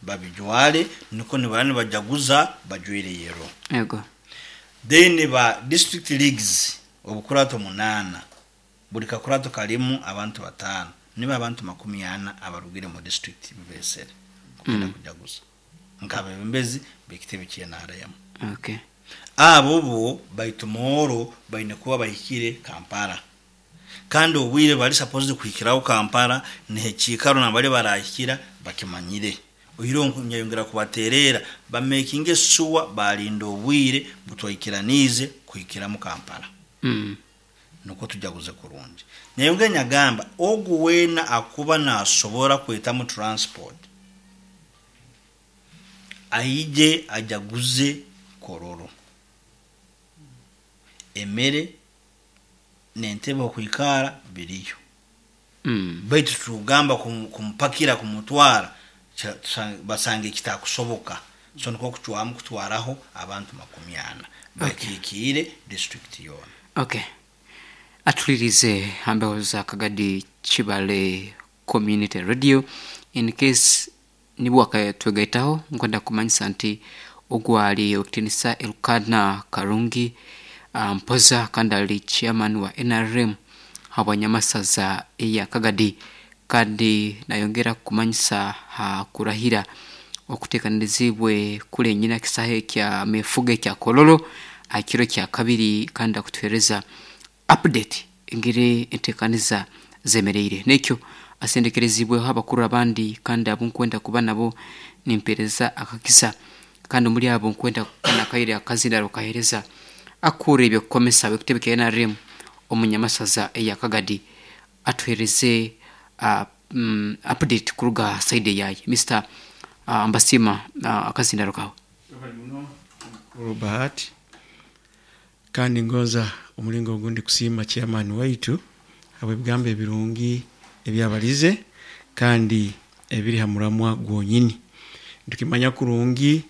Babijware nukwo nibara nibajaguza bajwaire yellow. Ego. Then ba district leagues obukurato 8, buli kakurato karimu abantu 5, nibo abantu 40 abarugire mu district bibesere kugenda kujaguza nk'abebembezi b'ekitebe ky'NRM. Abo bo by tomorrow baine kuba bahikire Kampala, kandi obwire bari supposed kuhikiraho Kampala niho ekiikaro nambari barahikira bakimanyire. Oihireho nyayongera kubaterera bamakinge sure barinda obwire butwaikiraniize kuhikiramu Kampala. Nukwo tujaguze kurungi. Nyayongera nyagamba ogu weena akuba nasobora kwetamu transport aije ajaguze Kololo. Emere n'entebe okwikara biriyo. Baitu tugamba kumupakira kumutwara basanga ekitakusoboka. So nikwo kucwamu kutwaraho abantu 40 bakikiire district yoona. Okay. Atulirize hambeho za Kagadi Kibale Community Radio. In case nibwo akatwegaitaho, nkwenda kumanyisa nti ogwali okitinisa Elukana Karungi Mpoza, kandi ali chairman wa NRM habwanyamasaza eya Kagadi, kandi nayongera kumanyisa ha kurahira okutekaniriziibwe kule enyina kisahe kya mefuga ekya Kololo aha kiro kya kabiri, kandi akutuhereza update engeri entekaniza zemereire. Nekyo asendekerezibweho abakuru abandi kandi abo nkwenda kuba nabo nimpereza akakisa, kandi omuri abo nkwenda nakaire akazindaro kahereza akura ebyokukomesa w'ekitebe kya NRM omunyamasaza eya Kagadi atuhereze update kuruga side yaye. Mr Mbasima, akazindaro kawe. Mukuru Bahati, kandi ngonza omulingo ogundi kusiima chairman waitu habw'ebigambo ebirungi ebyabalize kandi ebiri ha muramwa gwonyini. Nitukimanya kurungi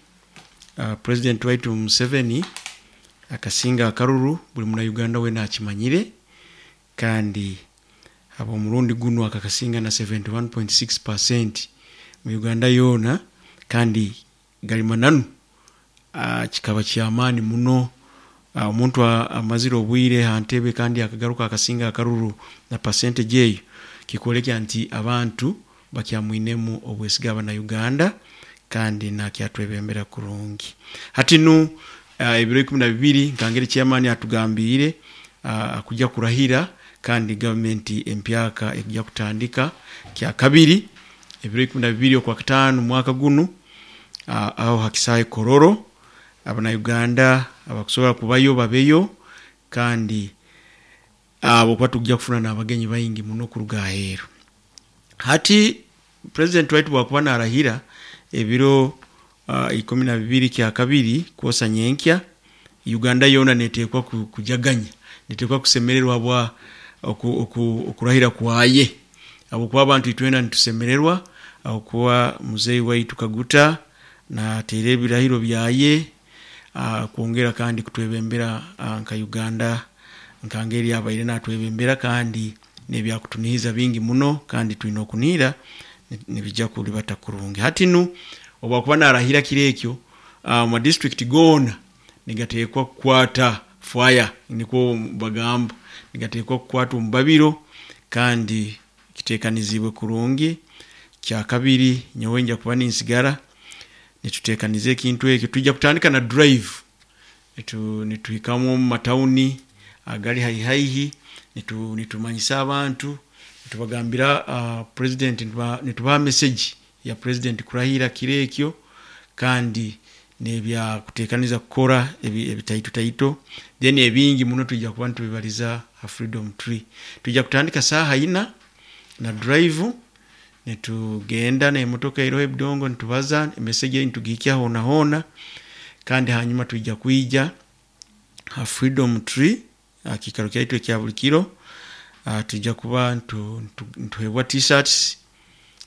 President waitu Museveni akasinga akaruru, buli muna Uganda weena akimanyire, kandi habw'omurundi gunu akakasinga na 71.6% mu Uganda yoona, kandi gali mananu kikaba kyamaani muno. Omuntu amazire obwire ha ntebe kandi akagaruka akasinga akaruru na percentage eyo, kikwolekya nti abantu bakyamwinemu obwesige abana Uganda, kandi nakyatwebembera kurungi. Hati nu ebiro 12 nkangeri chairman atugambiire akujja kurahira kandi gavumenti empyaka ekujja kutandika kya kabiri ebiro 12 okwa kataano mwaka gunu aho hakisahe Kololo. Abana Uganda abakusobora kubayo babeyo, kandi abo kuba tujja kufuna n'abagenyi baingi muno kuruga aheeru. Hati president waitu bwakuba narahira ebiro 12 kya kabiri kwosa nyenkya, Uganda yoona neteekwa kujaganya, neteekwa kusemererwa bwa okurahira kwaye, habwokuba abantu itwena nitusemererwa habwokuba muzei waitu Kaguta nateera ebirahiro byaye kwongera kandi kutwebembera nka Uganda nkangeri abaire natwebembera, kandi nebyakutunihiza bingi muno, kandi twine okunihira nibijja kulibata kurungi. Hati nu obwakuba narahira kiro ekyo, mu district goona nigateekwa kukwata fire, nikwo bagamba, nigateekwa kukwata omubabiro, kandi kitekanizibwe kurungi. Kya kabiri nyowe nja kuba ninsigara nitutekaniza ekintu ekyo, tujja kutandika na drive nituhikamu omu matawuni agali haihi haihi, nitumanyisa abantu, nitubagambira president, nitubaha message ya president kurahira kiro ekyo, kandi nebyakutekaniza kukora ebitaito taito, then ebingi muno tujja kuba nitubibaliza ha Freedom Tree. Tujja kutandika saaha ina na drive, nitugenda n'emotoka eroho ebidongo, nitubaza emessage eyi nitugihikya hoona hoona, kandi hanyuma twija kwija ha Freedom Tree aha kiikaro kyaitu ekya buli kiro. Twija kuba nituhebwa t-shirts,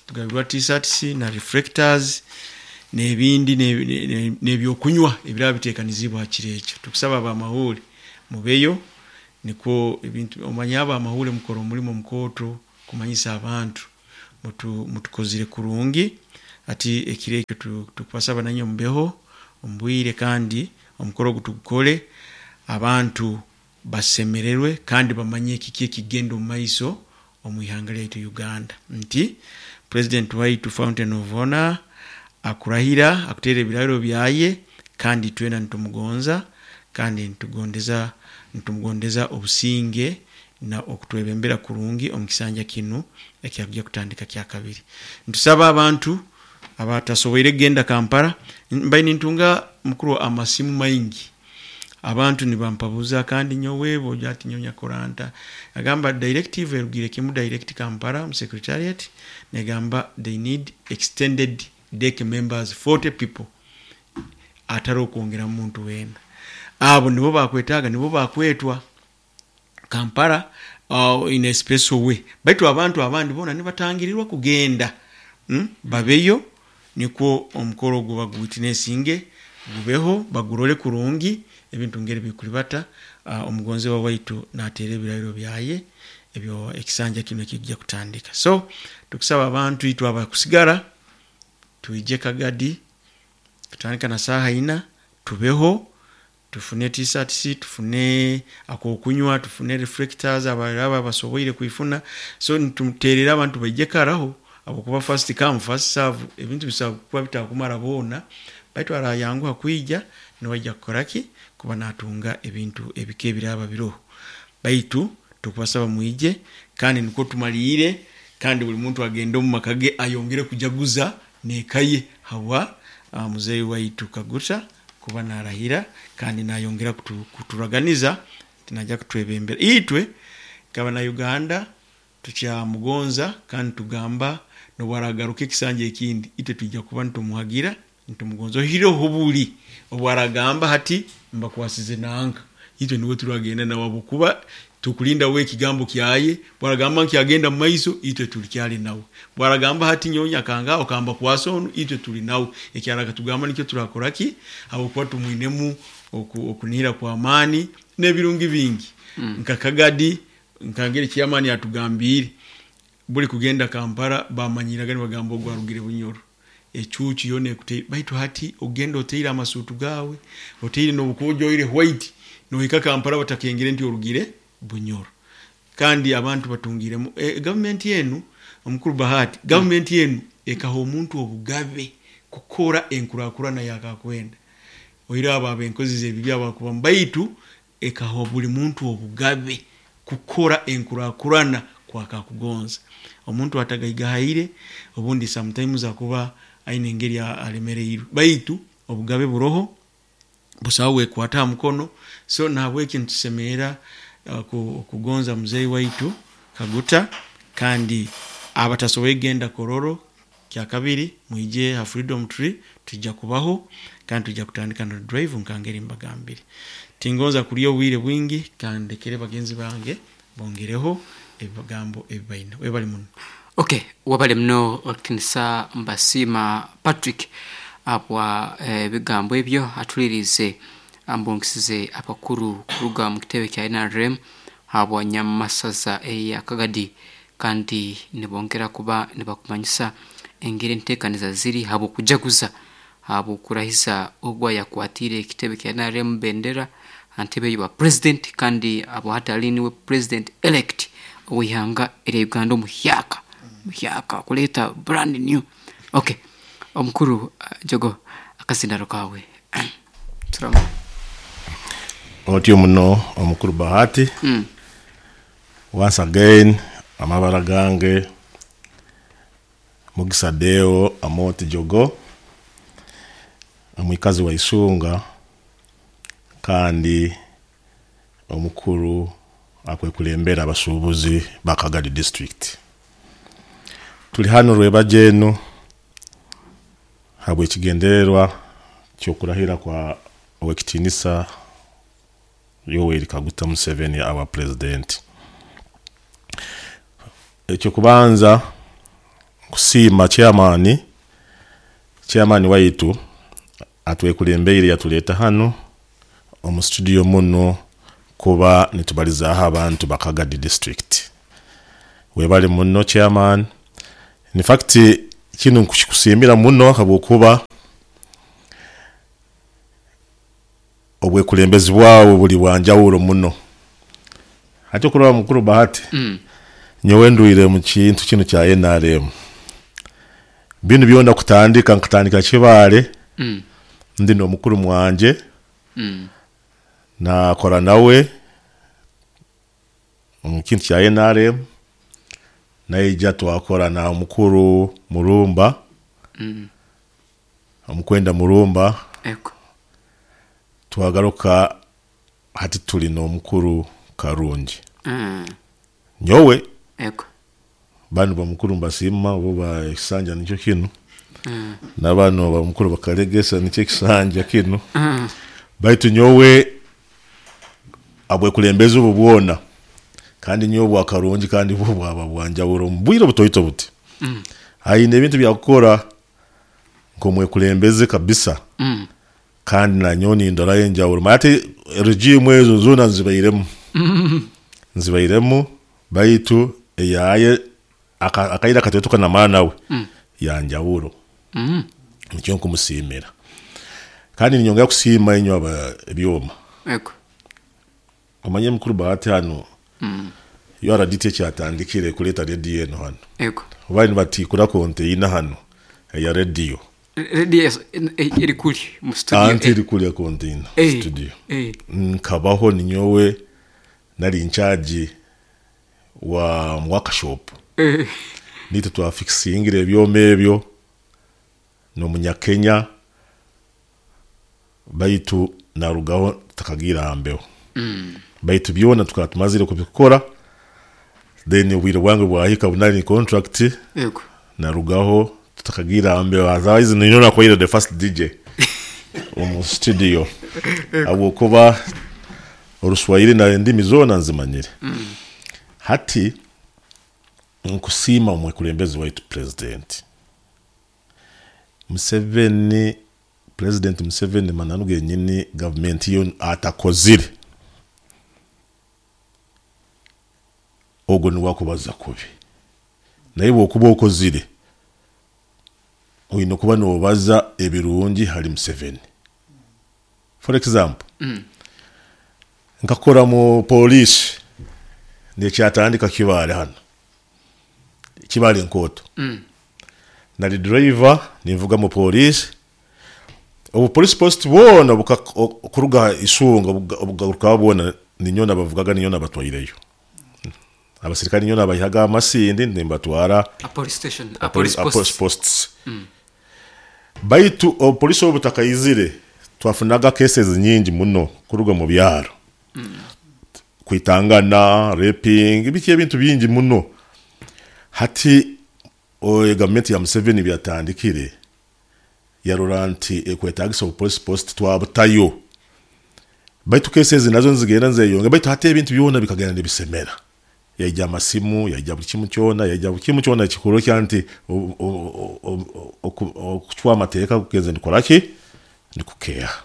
tugabirwa t-shirts na reflectors n'ebindi n'ebyokunywa ebiraba bitekanizibwe ha kiro ekyo. Tukusaba abamahuri mubeyo, nikwo ebintu omanye abamahuri mukora omulimo mukooto kumanyisa abantu mutukozire kurungi. Hati ekiro ekyo tukubasaba nanywe mubeho omu bwire, kandi omukoro ogu tugukole abantu basemererwe kandi bamanye kiki ekigenda omu maiso omu ihanga lyaitu Uganda, nti president waitu Fountain of Honor akurahira akuteera ebirahiro byaye, kandi twena nitumugonza kandi nitumugondeza obusinge na okutwebembera kurungi omu kisanja kinu ekyakujya kutandika kyakabiri. Nitusaba abantu abatasoboire kugenda Kampala, mbaire nintunga mukuru amasimu maingi, abantu nibampabuza kandi nyowe boja ati nyowe nyakora nta, agamba directive erugire kimu direct Kampala mu secretariat negamba they need extended deck members 40 people atari okwongera muntu wena. Abo nibo bakwetaaga, nibo bakwetwa Kampala in a special way. Baitu abantu abandi bona nibatangirirwa kugenda, babeyo nikwo omukoro ogwo baguwitnessinge gubeho, bagurole kurungi ebintu ngeri bikuribata. Omugonzebwa waitu nateera ebirahiro byaye ebyo ekisanja kino ekijja kutandika. So tukusaba abantu itwe abakusigara twije Kagadi, tutandika na saaha ina, tubeho, tufune t-shirts, tufune akokunywa, tufune reflectors abaraba basoboire kuifuna. So nituterera abantu baije karaho, abakuba first come first serve, ebintu bisaba kuba bitakumara bona, baitu arayanguha kwija niwajja kukoraki kuba natunga ebintu ebike ebiraba biroho. Baitu tukubasaba mwije kandi nikwo tumalire, kandi buli muntu agende omu maka ge ayongere kujaguza nekaye habwa muzeyi waitu Kaguta kuba narahira kandi nayongera kuturaganiza tinaja kutwebembera. Itwe kaba na Uganda tukyamugonza kandi tugamba nobwaragaruka ekisanja ekindi itwe tujja kuba nitumuhagira nitumugonza ohireho buli obwaragamba hati mbakwasize nanka, itwe niwe turagenda nawe kuba tukulinda we ekigambo kyaye. Bwaragamba nkyagenda mu maiso itwe tulikyali nawe, bwaragamba hati nyonya kanga okamba kwasa onu itwe tuli nawe, ekyaraka tugamba nikyo turakoraki habwokuba tumwinemu okunihira kwa amani n'ebirungi bingi. Nka Kagadi nkangeri kyamani atugambire buli kugenda Kampala bamanyiraga nibagamba ogwarugire Bunyoro ecucu yona ekute, baitu hati ogenda oteire amasuutu gawe oteire n'obukojo oire white nohika Kampala batakengere nti orugire Bunyoro. Kandi abantu batungiremu government yenu omukuru Bahati, government yenu ekaha omuntu obugabe kukora enkurakurana yakakwenda oire abo abenkozi z'ebibi abakuba baitu ekaha buli muntu obugabe kukora enkurakurana kwakakugonza. Omuntu atagaigahaire obundi sometimes akuba aine engeri alemereirwe, baitu obugabe buroho busawo wekwata ha mukono. So nahabweki nitusemerera okugonza muzeyi waitu Kaguta, kandi abatasoboire kugenda Kororo kyakabiri mwije ha Freedom Tree, tujja kubaho kandi tujja kutandika na drive nkangeri mbagambire. Tingonza kulya obwire bwingi kandi ndekere bagenzi bange bongereho ebigambo ebibaine. Webale muno. Okay, wabale muno Okinisa Mbasiima Patrick abwa ebigambo ebyo atulirize ambongesize abakuru kuruga mu kitebe kya NRM habwa Nyamasaza eya Kagadi, kandi nibongera kuba nibakumanyisa engeri enteekaniza ziri habw'okujaguza habw'okurahiza ogwo yakwatire ekitebe kya NRM bendera antebe y'obwa president, kandi abo hati ali niwe president elect ow'ihanga erya Uganda omuhyaka muhyaka kuleeta brand new. Okay, omukuru Jogo akazindaro kawe turamu Otyo muno omukuru Bahati. Once again amabara gange Mugisa Deo Amoti Jogo, omwikazi wa Isunga kandi omukuru akwekulembera abasuubuzi ba Kagadi district. Tuli hano rwebajo enu habw'ekigendererwa ky'okurahira kwa Owekitinisa Yoweri Kaguta Museveni our president. Ekyokubanza kusiima chairman waitu atwekulembeire yatuleeta hano omu studio muno kuba nitubalizaaho abantu ba Kagadi district. Webale muno chairman. In fact Kinu nkukikusiimira muno habwokuba obwekulembezi bwawe buli bwanjawulo muno. Hati okurora mukuru Bahati, nyowe ndwire mu kintu kinu kya NRM. Binu byona kutandika nkatandika Kibaale, ndi n'omukuru mwanje, nakora nawe omu kintu kya NRM, naija twakora na omukuru Murumba, omukwenda Murumba, twagaruka hati tuli n'omukuru Karungi. Nyowe banu bamukuru mbasiima bo ba ekisanja nikyo kinu, nabanu bamukuru bakalegesa nikyo ekisanja kinu, baitu nyowe abwekulembezi obu bwona kandi nyowe bwa Karungi kandi bwo bwaba bwanjawulo omu bwire obutoito buti. Aine ebintu byakukora nk'omwekulembeze kabisa, kandi nanyowe nindorayo enjawulo. Manya hati regime ezo zoona nzibairemu, nzibairemu baitu eyaye akaire akatoito kanamara nawe yanjawulo, nikyo nkumusiimira. Kandi ninyongera kusiima inywe aba ebyoma. Omanye mukuru Bahati hanu URDT ekyatandikire kuleeta rediyo eno hanu, bali nibatiikura konteina hanu eya rediyo. Radio eri kuri mu studio. Anti eri kuriya konteina studio. Nkabaho ninyowe nari incharge wa workshop. Nitwe twafikisingire ebyoma ebyo n'omunyakenya, baitu narugaho tutakagiire aha mbeho. Baitu byona tukaba tumazire kubikora, then obwire bwange bwahika nari contract, narugaho tutakagiire aha mbeho. Otherwise ninyowe nakubaire the first DJ omu studio, habwokuba Oruswahili na endimi zoona nzimanyire. Hati nkusiima omwekulembezi waitu President Museveni, President Museveni mananu genyini gavumenti yo atakozire, ogwo niwe akubaza kubi. Naye bwokuba okozire, oine kuba nobaza ebirungi hali Museveni. For example, nkakora mu poliisi nekyatandika Kibaale hanu, Kibaale Nkooto. Nari driver ninvuga mu poliisi, obu police post bwona kuruga Isunga obugarukaho bwona ninyowe nabavugaga, ninyowe nabatwaireyo. Abasirikare ninyowe nabayihaga Amasindi nimbatwara A police station, a police police post. Posts. Baitu obupolisi obu butakaizire, twafunaga cases nyingi muno kuruga mu byaro. Kwitangana, raping, biki ebintu bingi muno. Hati gavumenti ya Museveni byatandikire, yarora nti ekwetagisa obu police post twabutayo. Baitu cases nazo nizigenda nizeyongera, baitu hati ebintu byona bikagenda nibisemera. Yaija amasimu, yaija buli kimu kyona, yaija buli kimu kyona ekikurokya nti okucwa amateeka kugenze nikora ki? Nikukeeha.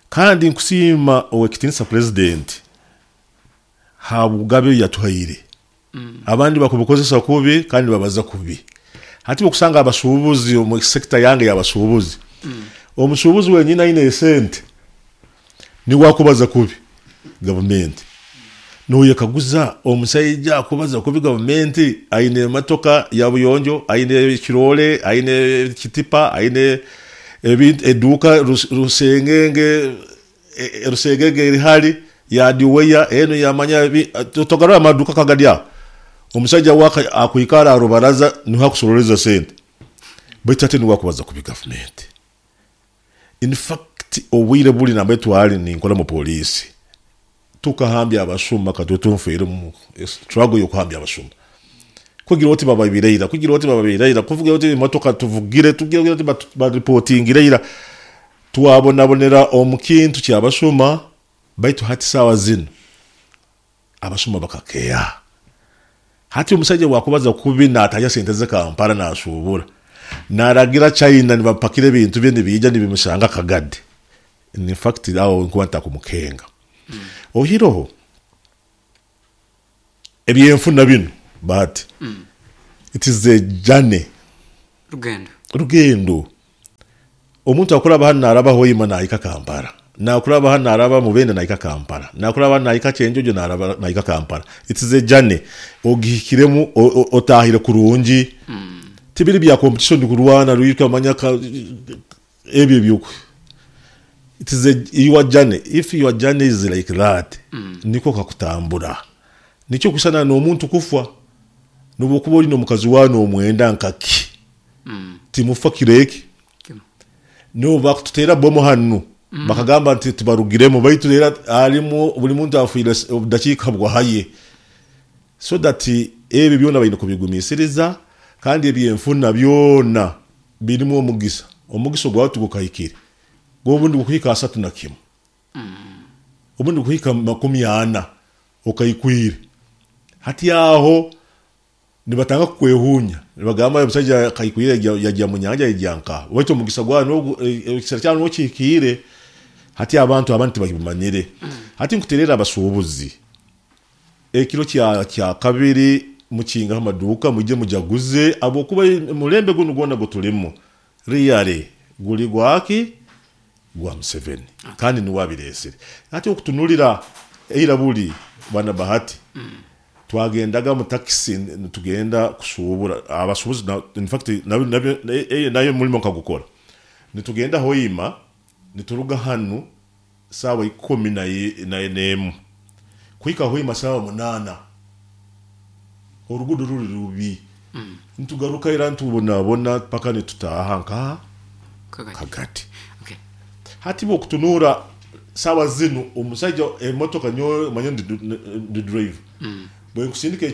Kandi nkusiima owekitinisa President habw'obugabe yatuhaire. Abandi bakubukozesa kubi kandi babaza kubi. Hati okusanga abasuubuzi omu sector yange y'abasuubuzi, omusuubuzi wenyini aine esente niwe akubaza kubi gavumenti. Noyekaguza omusaija akubaza kubi gavumenti aine emotoka ya buyonjo, aine ekiroole, aine ekitipa, aine eduuka rusengenge, rusengenge eri hali ya diweya enu yamanya togarora amaduka kagari aho. Omusaija waka akwikara aha rubaraza niho akusororeza sente, baitu ate niwe akubaza kubi gavumenti. In fact obwire buri nambere twali ninkora mu poliisi, tukahambya abasuma katwe nfeire mu struggle y'okuhambya abasuma. Kugira oti bababireira, kugira oti bababireira, kuvugira oti emotoka tuvugire, tugira oti baripotingire ira. Twabonabonera omu kintu ky'abasuma, baitu hati saawa zinu abasuma bakakeeha. Hati omusaija wakubaza kubi nataya sente ze Kampala nasuubura, naragira China nibapakira ebintu bye nibiija nibimusanga Kagadi. In fact aho nkuba ntakumukenga. Oihireho ebyenfuna binu Bahati, it is a journey. Rugendo. Rugendo. Omuntu akuraba hano naraba Hoima nahika Kampala, nakuraba hano naraba Mubende nahika Kampala, nakuraba hano nahika Kyenjojo naraba nahika Kampala. It is a journey ogihikiremu, otahire kurungi. Tibiri bya competition kurwana rwika manya ebyo byuku. It is a your journey. If your journey is like that, niko kakutambura. Nikyo kusana n'omuntu kufa nobwokuba oli n'omukazi wa n'omwenda nkaki, timufa kireki. Kimu. No bakututera bomu hanu, bakagamba nti tibarugiremu, baitu era alimu buli muntu afiire obudakiika bwahaye. So that ebyo byona balina kubigumisiriza, kandi ebyenfuna byona birimu omugisa. Omugisa ogwawe tugukahikire, gwobundi gukuhika 31, obundi gukuhika 40 okaikwire. Hati aho nibatanga kukwehunya, nibagamba omusajja kaikwire yajya mu nyanja yajya nka waitu omugisa gwawe ekisera kyawe nokihikire. Hati abantu abandi tibakibimanyire. Hati nkuterera abasuubuzi ekiro kya kabiri mukinga amaduuka, mujye mujaguze, abwokuba mulembe guno gwona gutulimu riyare guli gwaki gwa Museveni, kandi niwe abiresere. Hati okutunulira eira buli bwana Bahati, twagendaga mu takisi nitugenda kusuubura abasuubuzi in fact nayo mulimo nkagukora. Nitugenda Hoima, nituruga hanu sawa 11 kuhika Hoima sawa 8, orugudo ruri rubi. Nitugaruka era ntubonabona paka nitutaha nka Kagati. Kagati. Okay. Hati bwokutunura sawa zinu omusajja emotoka nyo manye ndi drive bwe nkusindika.